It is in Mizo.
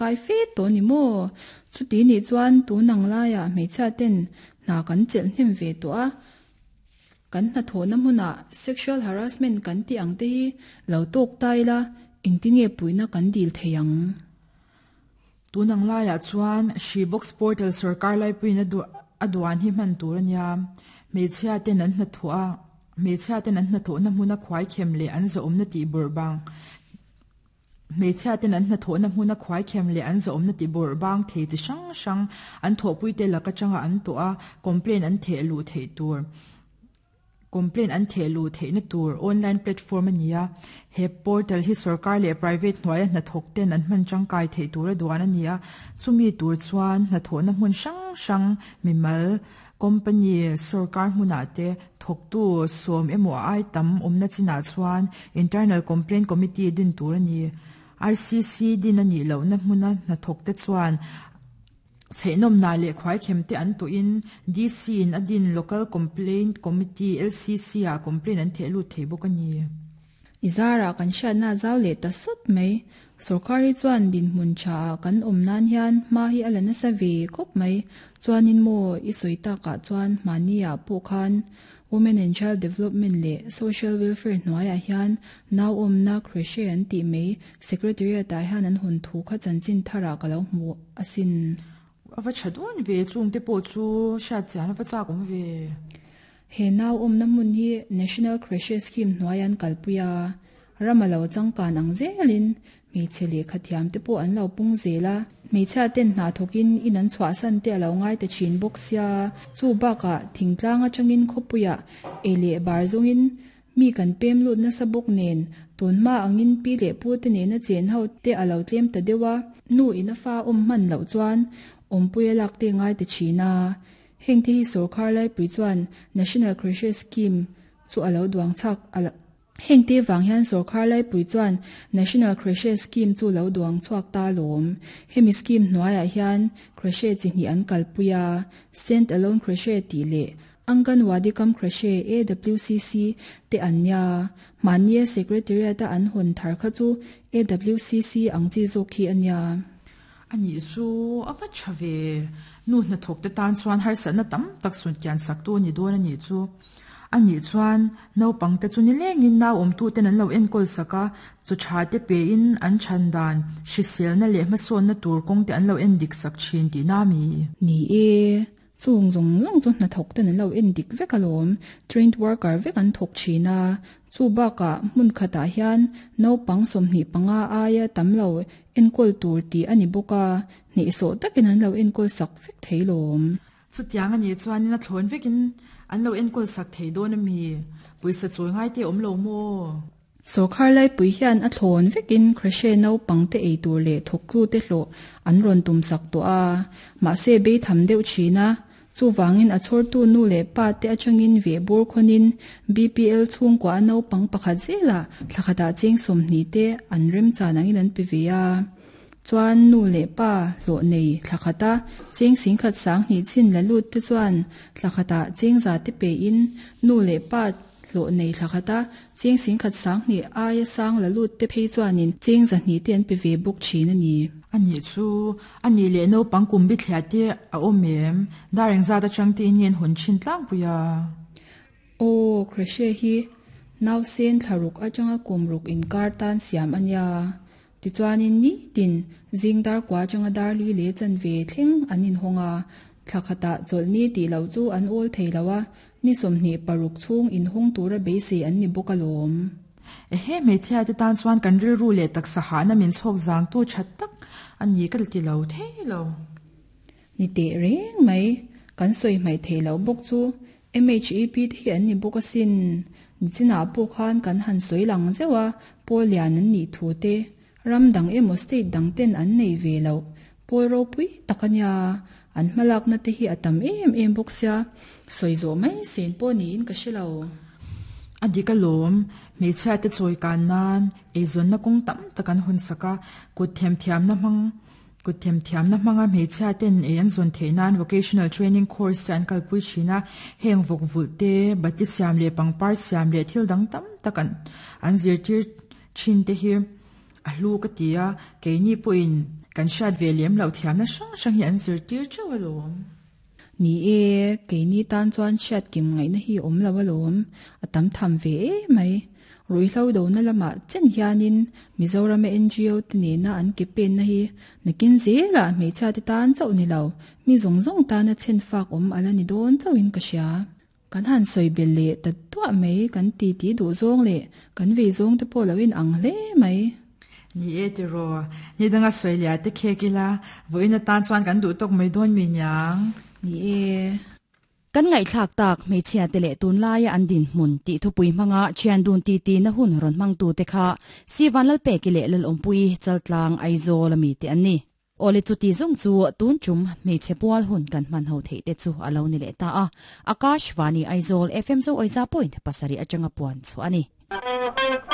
Kai fe tawh ni maw? Chuti nih chuan tun ang laiah hmeichhia ten hna kan chelh hnem ve tawh a, kan hnathawhna hmunah sexual harassment kan tih ang te hi lo tawk ta ila engtin nge puihna kan dil thei ang? Tun ang laiah chuan Hri Box Portal sawrkar laipuiin a duan hi hman tur a nia. Hmeichhia ten an hnathawh a, hmeichhia ten an hnathawhna hmuna khuaikhem leh an zahawmna tih bawrh bang Hmeichhia ten an hnathawhna hmuna khuaikhem leh an zahawmna ti bawrh bang thei chi hrang hrang an thawhpuite lak atanga an tawh a, complaint an theh luh theih tur complaint an theh luh theihna tur online platform a ni a. He portal hi sorkar leh private hnuaia hnathawk ten an hman tangkai theih tura duan a ni a, chumi tur chuan hnathawhna hmun hrang hrang mimal Company sorkar hmunah te thawktu sawm emaw a ai tam awmna chinah chuan Internal Complaint Committee din tur a ni. ICC din a nih lohna hmuna hnathawkte chuan chheihnawmna leh khuaikhem te an tawhin DC in a din Local Complaint Committee, LCC, ah complaint an theh lut thei bawk a ni. I zarah kan hriatna a zau leh ta sawt mai. Sorkar hi chuan dinhmun tha ah kan awm nan hian hma hi a la nasa ve khawp mai. Chuanin maw i sawi takah chuan hmahni ah pawh khan Women and Child Development leh Social Welfare hnuaiah hian nau awmna creche an tih mai Secretariat ah hian an hawn thu kha chanchin tharah ka lo hmu asin. A va tha dawn ve, chungte pawh chu hriat chian a va chak awm ve. He nau awmna hmun hi National Creche Scheme hnuai an kalpui a, ram a lo changkan ang zelin hmeichhe lehkha thiam te pawh an lo pung zel a, hmeichhia ten hna thawkin in an chhuahsan te a lo ngai ta thin bawk sia, chu bakah thingtlang atangin khawpuiah ei leh bar zawngin mi kan pem lut nasa bawk nen tun hma angin pi leh pu te nena chen ho te a lo tlem ta deuh a, nu in a fa awm hman loh chuan awmpuia lak te ngai ta thin a. Heng te hi sorkar laipui chuan National Creche Scheme chu a lo duang chak a lo Heng te vang hian sorkar laipui chuan National Creche Scheme chu lo duang chhuak ta alawm. Hemi scheme hnuaiah hian creche chi hnih an kalpui a, Stand Alone Creche tih leh Anganwadi Cum Creche, AWCC, te an nia. Mahnia Secretariat-a an hawn thar kha chu AWCC ang chi zawk hi a nia. A nih chu a va tha ve. Nu hnathawk te tan chuan harsatna tam tak sunkian sak tu a ni dawn a nih chu. A nih chuan naupang te chu nilengin nau awmtu ten an lo enkawl sak a, chaw tha te pe in an chhan dan, hriselna leh hmasawnna tur kawng te an lo en dik sak thin tihna a mi? Ni e, Chung zawng zawng chu hnathawk ten an lo en dik vek alawm, trained worker vek an thawk thin a, chu bakah hmun khatah hian naupang 25 aia tam lo enkawl tur tih a ni bawk a, hnehsawh takin an lo enkawl sak vek thei lawm. Chutiang a nih chuanin a thlawn vekin an lo enkawl sak thei dawn a mi? Pawisa chawi ngai te awm lo maw? Sawrkhar laipui hian a thlawn vekin Creche naupangte ei tur leh thawktute hlawh an rawn tumsak tawh a, mahse beitham deuh thin a. Chuvangin a chhawrtu nu leh pa te atangin vehbur khawnin BPL chhungkua a naupang pakhat zelah thla khatah cheng 20 te an remchan angin an pe ve a. Chuan nu leh pa hlawh nei thla khata cheng 10,000 20 chin la lut te chuan thla khatah cheng za te pein nu leh pa Hlawh nei thla khata cheng 10,000 20 aia sang la lut te phei chuanin cheng 200 te an pe ve bawk thin a ni. A nih chu, a nih leh naupang kum bithliah te a awm em? Dar engzat atang te in nge an hawn thin tlangpui a? Aw, Creche hi nausen thla ruk atanga kum ruk inkar tan siam a nia. Tichuanin nitin zing dar kua atanga dar li leh chanve thleng an inhawng a, thla khatah chawlhni tih loh chu an awl thei lo a, Ni 26 chhung inhawng tura beisei an ni bawk alawm. Ehe, hmeichhia te tan chuan kan rilru leh taksa hahna min chhawk zangtu tha tak a ni ka ti lo thei lo. Ni teh reng mai, kan sawi hmaih theih loh bawk chu MHEP te hi an ni bawk asin. Nichinah pawh khan kan han sawi lang zeuh a, pawl lian an nih thu te, ram dang emaw state dang ten an nei ve loh, pawl ropui tak a nia. An hmalakna te hi a tam em em bawk sia, sawi zawh mai sen pawh niin ka hre lo. A dik alawm, hmeichhia te chawi kan nan eizawnna kawng tam tak an hawn sak a, kut themthiamna hmang kut themthiamna hmanga hmeichhia ten ei an zawn theih nan vocational training course te an kalpui thin a, heng vawk vulh te, bati siam leh pangpar siam leh thil dang tam tak an an zirtir thin te hi a hlu ka ti a, keini pawhin. Kan hriat ve lem loh thiamna hrang hrang hi an zirtir teuh alawm. Ni e, keini tan chuan hriat kim ngaihna hi awm lo alawm, a tam tham ve emai. Ruihhlo dona lamah chen hianin Mizorama ngo te nena an ke penna hi nakin zelah hmeichhia te tan chauh ni lo, mi zawng zawng tana chhen fak awm ala ni dawn chauhin ka hria. Kan han sawi belh leh ta duah mai, kan titi duh zawng leh kan vei zawng te pawh lo in ang hle mai. Ni e tiraw, ni danga sawi leh te khek ila, vawiin atan chuan kan duh tawk mai dawn mi niang. Ni e. Kan ngaihthlak tak hmeichhia te leh tunlaia an dinhmun tih thupui hmanga thian dun titi na hun rawn hmangtu te kha Sivan Lalpeki leh Lalawmpuii Chaltlang Aizawl ami te an ni. Awle chuti zawng chu tun tum hmeichhe pual hun kan hman ho theih te chu a lo ni leh ta a, Akashvani Aizawl FM Zo Awisa point pasarih atanga puan chhuah a ni.